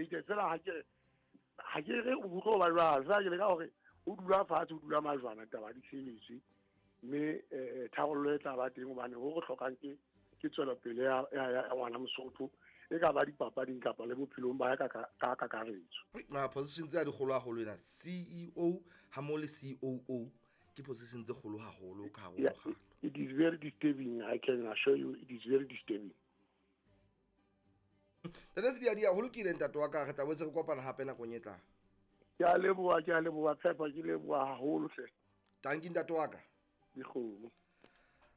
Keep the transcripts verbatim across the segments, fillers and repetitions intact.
relegated. Fela ha ke ha ke re o tlo ba jwalo, fela ke leka hore o dula fatshe, o dula majwana, taba di sebetswe, mme eh tharollo e tla ba teng, hobane ho re hlokang ke ke tswelopele ya ya ngwana Mosotho, e ka ba dipapading kapa le bophelong ba ka ka kakaretso. Ma position tse di kgolo haholo ena, C E O ha mo le C O O, ke position tse kgolo haholo ka hare ho mokgatlo. It is very disturbing, I can assure you, it is very disturbing. Ntate Sediadia, ho lokile ntate wa ka, re tla boetse re kopana hape nakong e tlang. Ke a leboha, ke a leboha Tshepo, ke leboha haholo hle. Tanki ntate wa ka. Dikgomo.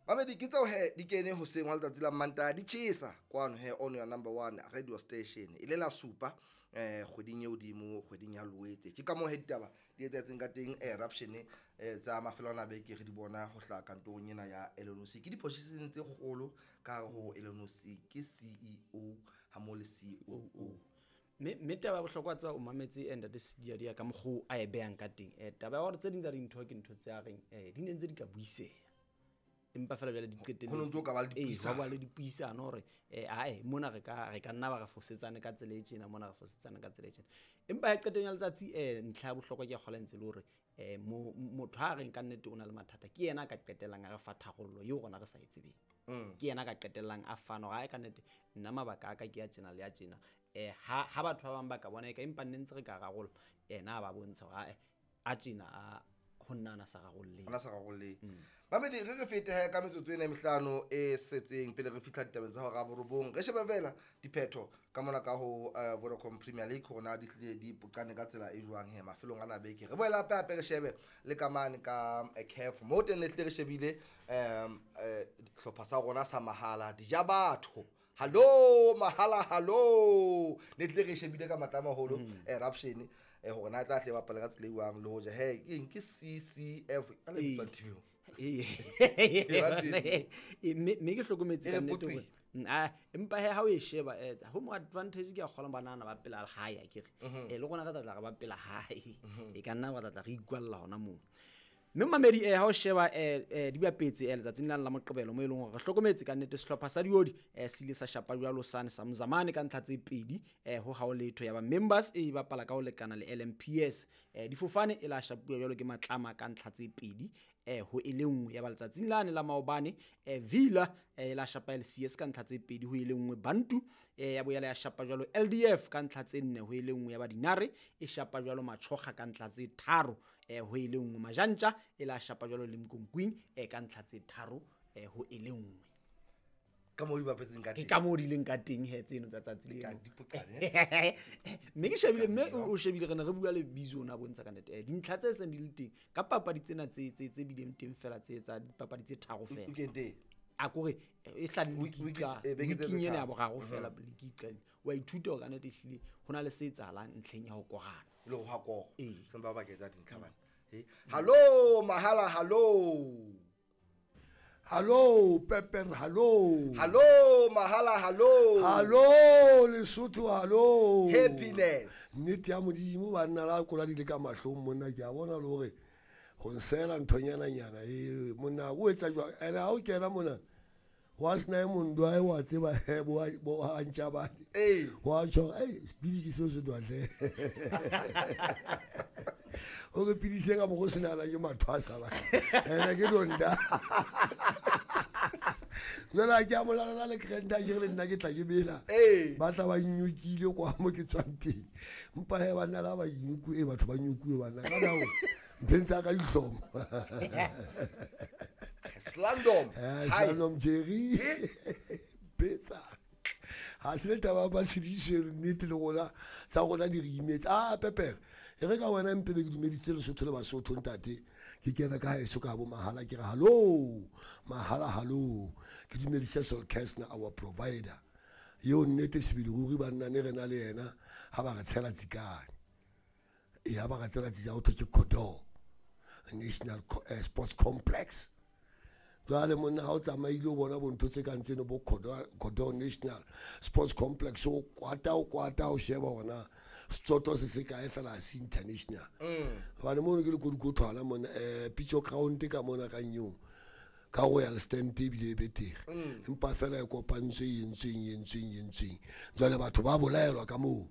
Mamedi, ke tseo he di kene hoseng hwa letsatsi la Mantaha, di tjhesa kwano he on your number one radio station. E le la supa eh kgweding e hodimo, kgweding ya Loetse. Ke ka moo he ditaba di etsahetseng ka teng, eruption eh tsa mafelo ana a beke re di bona ho hlaha kantorong ena ya L N O C. Ke di-position tse kgolo ka hare ho L N O C, ke C E O ha mo le C O O. Mme, mme taba ya bohlokwa tseba o mametse ntate Sediadia ka mokgwa a e behang ka teng. Eh, taba ya hore tse ding tsa dintho ke ntho tse a reng, eh, di ne ntse di ka buiseha. Empa fela jwale di qetelletse. Ho no ntso ka ba le Ee, dipuisano. ho ba le dipuisano hore, eh, ae, mona re ka, re ka nna ba re fosetsane ka tsela e tjena, mona re fosetsane ka tsela e tjena. Empa ya qetong ya letsatsi, eh, ntlha ya bohlokwa ke ya kgola ntse le hore, eh, mo-, motho ha reng ka nnete o na le mathata, ke yena a ka qetellang a re fa tharollo eo rona re sa e tsebeng. Mm. Ke yena a ka qetellang a fana hore, ae, ka nnete nna mabaka a ka ke a tjena le a tjena. Eh, ha, ha batho ba bang ba ka bona eka empa nne ntse re ka rarolla, yena a ba bontsha hore, ae, a tjena a ho nna ana sa rarolleng. Ana sa rarolleng. Mm. Mamedi, re re fete he ka metsotso ena e mehlano e setseng pele re fihla ditabeng tsa hora ya borobong. Re shebe fela diphetho ka mona ka ho, eh, Vodacom Premier League hore na di hlile di poqane ka tsela e jwang he mafelong ana a beke. Re boela hape hape re shebe le ka mane ka, eh, C A F mo teng le hlile re shebile, em, eh, dihlopha sa rona sa mahala Dijabatho. Hallo mahala, hallo. Ne tlile re shebile ka matla a maholo, Mm. eruption, eh, hore na tla hle bapala ka tsela e jwang le hoja he ke eng, ke C C F ka le Ee. bitswang team eo? Ee. E ba teng. Ee, mme, mme ke hlokometse E ka re nnete poqile. hore, mm, ah, empa he ha o e sheba, eh, ho mo advantage ke a kgola banana ba pela hae, akere. Mhm. Eh, le rona re tla tla re ba pela hae. Mhm. E ka nna ba tla tla re ikwalla hona moo. Mme mamedi, eh, ha o sheba, eh, eh, di bapetse, eh, letsatsing lane la Moqebelo mo e leng hore re hlokometse ka nnete sehlopha sa Diodi, eh, se ile sa shapa jwalo sane sa Mzamane ka ntlha tse pedi, eh, ho hao letho. Ya ba members e bapala ka ho lekana le L M P S. Eh, difofane e la shapuwa jwalo ke Matlama ka ntlha tse pedi, eh, ho e le nngwe. Ya ba letsatsing lane la maobane, eh, Villa, eh, e la shapa L C S ka ntlha tse pedi ho e le nngwe. Bantu, eh, ya boela ya shapa jwalo L D F ka ntlha tse nne ho e le nngwe. Ya ba Dinare e shapa jwalo Matjhokga ka ntlha tse tharo, eh, ho e le nngwe. Majantja e la shapa jwalo le Mkonkwing, eh, ka ntlha tse tharo, eh, ho e le nngwe. Ka moo di bapetseng ka Ke teng. ka moo di leng ka teng he tseno tsa tsatsi Di ka leno. di poqane, eh? Mme ke shebile, mme o, o shebile re ne re bua le Bizo ona bontsha ka nnete. Eh, dintlha tse seng di le teng ka papadi tsena tse, tse, tse bileng teng fela tse tsa dipapadi tse tharo fela. Weekend e? A kore, eh, e tla le Week, week, league eh, beke tse weekend ena ya tharo. boraro Mhm. fela, league e qadile. Wa ithuta hore ka nnete ehlile ho na le se etsahalang ntlheng ya ho korana. Le ho ha koro. Ee. Seng ba ba ketsa dintlha bana. Eh, hallo mahala, hallo. Hallo Pepper, hallo. Hallo mahala, hallo. Hallo Lesotho, hallo. Happiness. Nnete ya Modimo banna la kola di le ka mahlong monna, ke a bona le hore ho nsela nthonyana nyana e monna o etsa jwang? Ene ha o kena mona wa sena e mong dwa e wa tseba he, bo a, bo a ntjabane. Ee. Wa tjho, ei, speedy ke seo se dwa hle. O re pidise ka mokgo se nala ke mathwasa ba. Ene ke donda. Jwale ha ke a molala le krenta, ke re le nna ke tla ke bela. Ee. Ba tla ba nnyokile kwa mo ke tswang teng. Empa he banna la ba nyokuwe, batho ba nyokuwe banna. Ka nao, mpheng tsa ka dihlomo. Slandom. Eh, Hi. Slandom Jerry. Eh? Betsa. Ha se le taba ya matshediso, nnete le rona, tsa rona di re imetse. Ah, Pepper, e re ka wena mpe be ke dumedisitse Lesotho le Basotho, ntate. Ke kena ka haeso ka bo mahala, ke re hallo, mahala hallo. Ke dumedise Sol Kestner, our provider. Eo nnete sebele ruri banna ne re na le yena ha ba re tshela tsikane. E ha ba re tshela tsikane, ho thwe ke Kodor National Co-, eh, Sports Complex. Jwale monna ha o tsamaile o bona bo ntho tse kang tseno bo Kodor, Kodor National Sports Complex, o kwata, o kwata, o sheba hore na setsoto se se kae fela ha se international. Mm. Hobane mono ke lekodikothwana mona, eh, Pitso Ground ka mona ka nyeo, ka Royal Stand ebile e betere. Mm. Empa fela e kopantswe, e entsweng, e entsweng, e entsweng. Jwale batho ba bolaelwa ka moo.